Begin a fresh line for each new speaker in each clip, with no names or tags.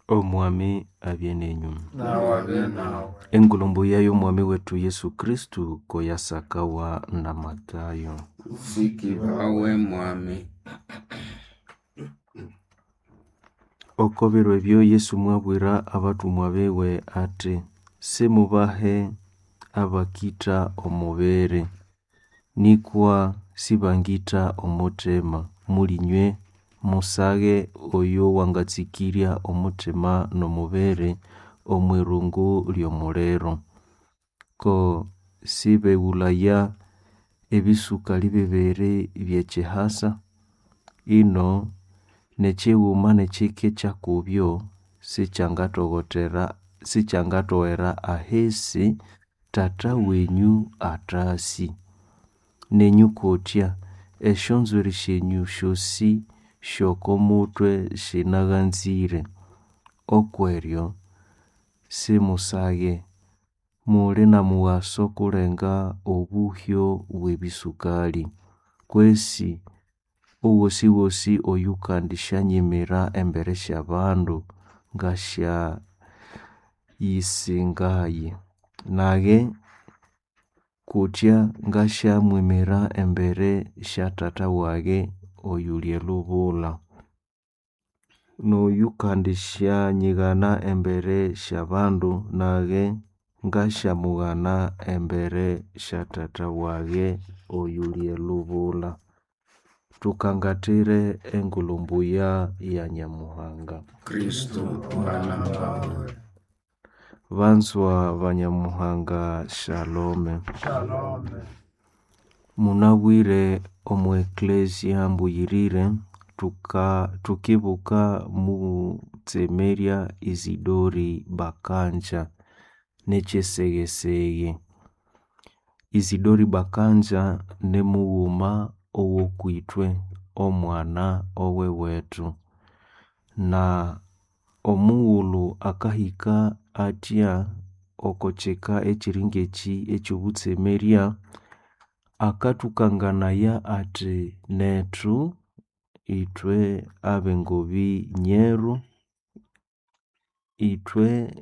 Omwami abye nenyu.
Nawe abe nawe.
Engulumbu yayo Omwami wetu Yesu Kristu koyasakawa na Matayo.
Usikibawe mwami.
Oko biro ebyo Yesu mwabwira abatumwa biwe ati, simubahe abakitha omubiri, nikwa sibangitha omuthima. Mulinywe musage oyo wangatsikirya omuthima n'omubiri omw'irungu ly'omuliro. Ko sibeghulaya ebisukali bibiri by'ekyihasa? Ino n'ekighuma n'ekike kyakubyo sikyangatoghera ahisi Tata wenyu athasi. Nenyu kutya, esyonzwiri syenyu syosi sy'oko mutwe sinaghanzire. Okweryo simusaghe, muli n'omughaso kulenga obuhyo bw'ebisukali. Kwesi owosiwosi oyukandisyanyimira embere sy'abandu ngasyayisingaye. Nage kutya ngasyamwimira embere sya Tata wage oyuli elubula. N'oyukandisyanyighana embere sy'abandu nage ngasyamughana embere sya Tata wage oyuli elubula. Thukangathire engulhu mbuya ya Nyamuhanga.
Kristu mwana wawe.
Banzwa ba Nyamuhanga, shalome.
Shalome.
Munabwire omu Eklezia mbuyirire thukibuka mutsemerya Isidori Bakanja n'ekyesegheseghe. Isidori Bakanja nimughuma owokwithwe, omwana owewethu. Na omughulhu akahika athya oko kyika ekyiri ngekyi ekyobutsemerya, akathukanganaya athi nethu ithwe ab'engobi nyeru, ithwe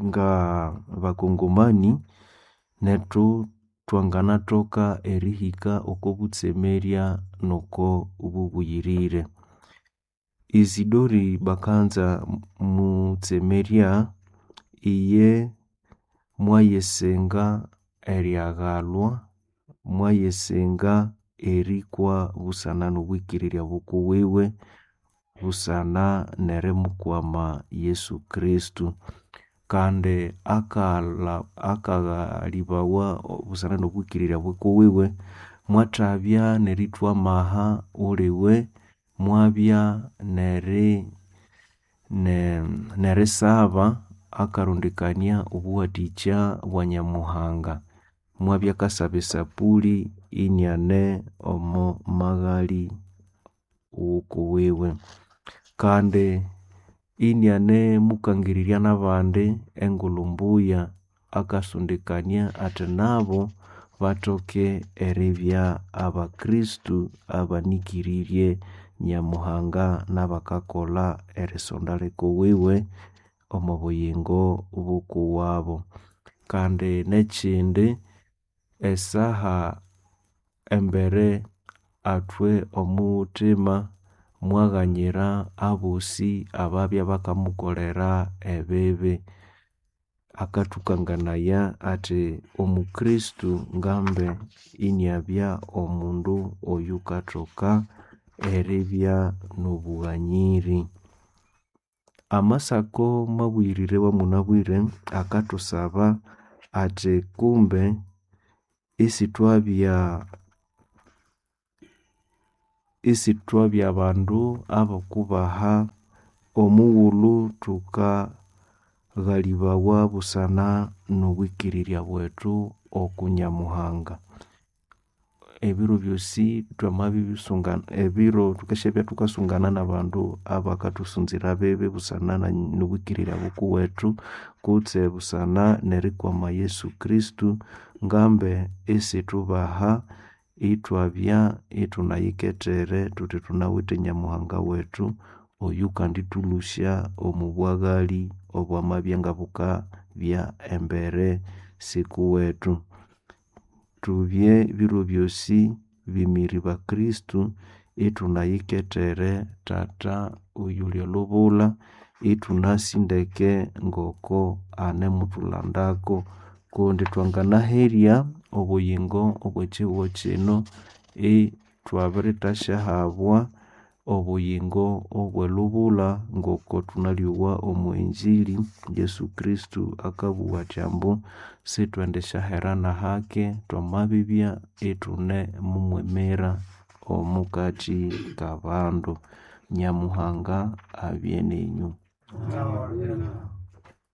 ngabakongomani, nethu thwanganathoka erihika oko butsemerya n'oko bubuyirire. Isidori Bakanja mutsemerya, iye mwayisinga eryaghalwa, mwayisinga erikwa busana n'obwikirirya bukuwiwe, busana n'erimukwama Yesu Kristu. Kandi akaghalhibawa busana n'obwikirirya bukuwiwe, mwathabya n'erithwa amaha uliwe, mwabya n'erisaba akarondekania obuwathikya bwa Nyamuhanga. Mwabya akasaba esapuli iniane omo maghali ghukuwiwe. Kandi inianemukangirirya n'abandi engulhu mbuya, akasondekania athi nabo bathoke eribya abakristu abanikiriirye Nyamuhanga n'abakakolha erisonda likuwiwe omo buyingo bukuwabo. Kandi n'ekyindi, esaha embere athwe omuthima mwaghanyira abosi ababya bakamukolera ebibi. Akathukanganaya athi omukristu ngambe iniabya omundu oyukathoka eribya n'obughanyiri. Amasako mabuyirire awamunabwire akathusaba athi kumbe isithwabya bandu abokubaha omughulhu thukaghalibawa busana n'obwikirirya bwethu oku Nyamuhanga. Ebiro byosi thwamabisunga ebiro thukasyabya thukasungana n'abandu abakathusunzira bibi busana n'obwikirirya bukuwethu kutse busana n'erikwama Yesu Kristu, ngambe isithubaha ithwabya ithunayikethere thuthi thunawithe Nyamuhanga wethu. Oyukandĩtũlũsya omo bwaghali obwamabya ngabukabya embere sikuwethu. Tubye biro byosi bimiri ba Kristo ithunayikethere Tata oyuli elubula, ithunasi ndeke ngoko anemuthulandako kundi twanganaherya obuyingo obwekyihugho kyino ithwabirithasyahabwa obuyingo obwelubulha ngoko thunalyowa omwa injili Yesu Kristo akabugha athi ambu sithwendisyahera nahake thwamabibya ithunemumwimira omukathi kabandu. Nyamuhanga abye nenyu.
Awabye nawe.